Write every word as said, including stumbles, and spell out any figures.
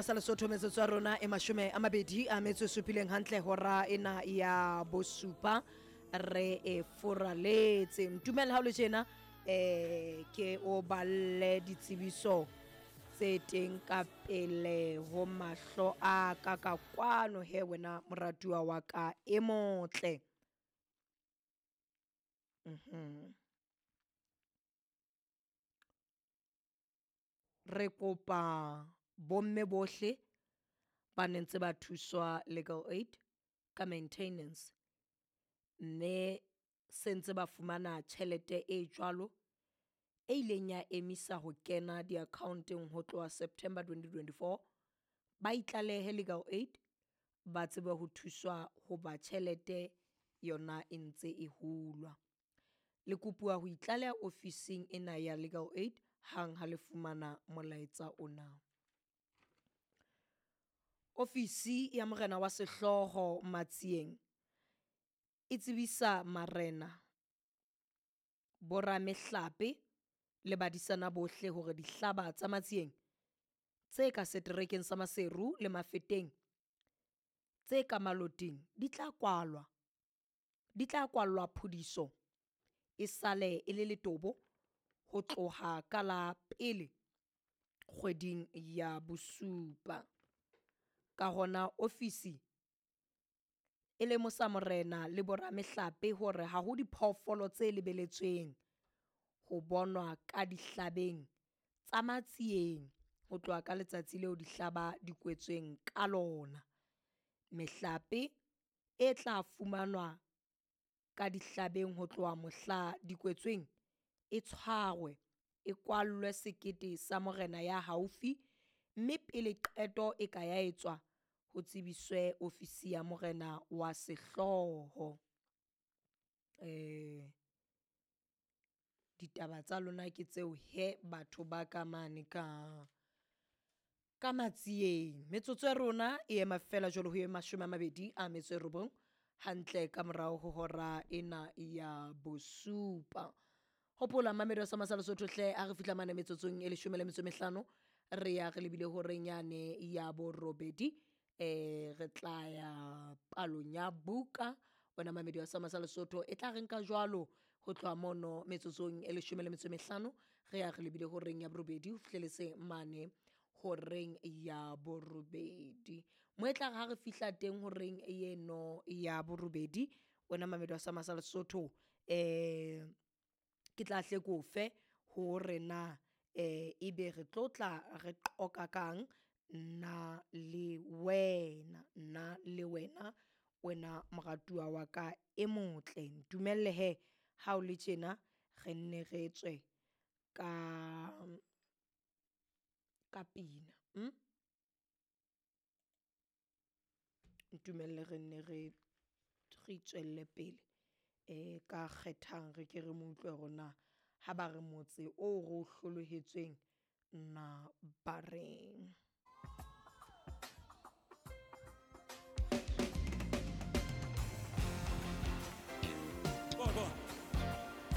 Sa Lesotho, metsotso ya rona e mashome a mabedi a metso e supileng, hantle hora ena ya bosupa re e furaletse. Ntumelle ha o le tjena, um ke o balle ditsebiso tse teng ka pele ho mahlo a ka ka kwano. He wena moratuwa wa ka e motle. Mhm. Re kopa bomme bohle ba ne ntse ba thuswa legal aid ka maintenance, mme se ntse ba fumana tjhelete e jwalo e ileng ya emisa ho kena diakhaonteng ho tloha September twenty twenty four. Ba itlalehe legal aid, ba tsebe ho thuswa hoba tjhelete yona e ntse e hulwa. Le kopuwa ho itlaleha ofising ena ya legal aid hang ha le fumana molaetsa ona. Ofisi ya morena wa sehlooho Matsieng e tsebisa marena, boramehlape le badisana bohle hore dihlaba tsa Matsieng tse ka seterekeng sa Maseru le Mafeteng tse ka Maloting di tla kwalwa, di tla kwallwa phudiso e sale e le letobo ho tloha ka la pele kgweding ya bosupa. Ka hona ofisi e lemosa morena le boramehlape hore ha ho diphoofolo tse lebeletsweng ho bonwa ka dihlabeng tsa Matsieng ho tloha ka letsatsi leo dihlaba di kwetsweng ka lona. Mehlape e tla fumanwa ka dihlabeng ho tloha mohla di kwetsweng e tshwarwe, e kwallwe sekete sa morena ya haufi, mme pele qeto e ka ya etswa ho tsebiswe ofisi ya morena wa sehlooho. Um ditaba tsa lona ke tseo he batho ba ka mane ka ka Matsieng. Metsotso ya rona e ema feela jwalo ho ye mashome a mabedi a metso e robong, hantle ka morao ho hora ena ya bosupa. Hopola mamedi wa sa masa Lesotho hle, ha re fihla mane metsotsong e leshome le metso e mehlano, re ya re lebile horeng yane ya borobedi, um re tla ya palong ya buka. Wena mamedi wa sa masa Lesotho, e tla re nka jwalo ho tloha mono metsotsong e leshome le metso e mehlano, re ya re lebile horeng ya borobedi ho fihleletse mane horeng ya borobedi. Mo e tla re ha re fihla teng horeng eno ya borobedi, wena mamedi wa sa masa Lesotho, um ke tla hle ke o fe hore na um ebe re tlo tla re qoqa kang nna le wena, nna le wena, wena moratuwa wa ka e motle. Ntumelle hee ha o le tjena re nne re tswe ka ka pina . Ntumelle re nne re re itswelle pele um ka kgethang, re ke re mo utlwe hore na ha ba re motse oo re o hlolohetsweng na ba reng.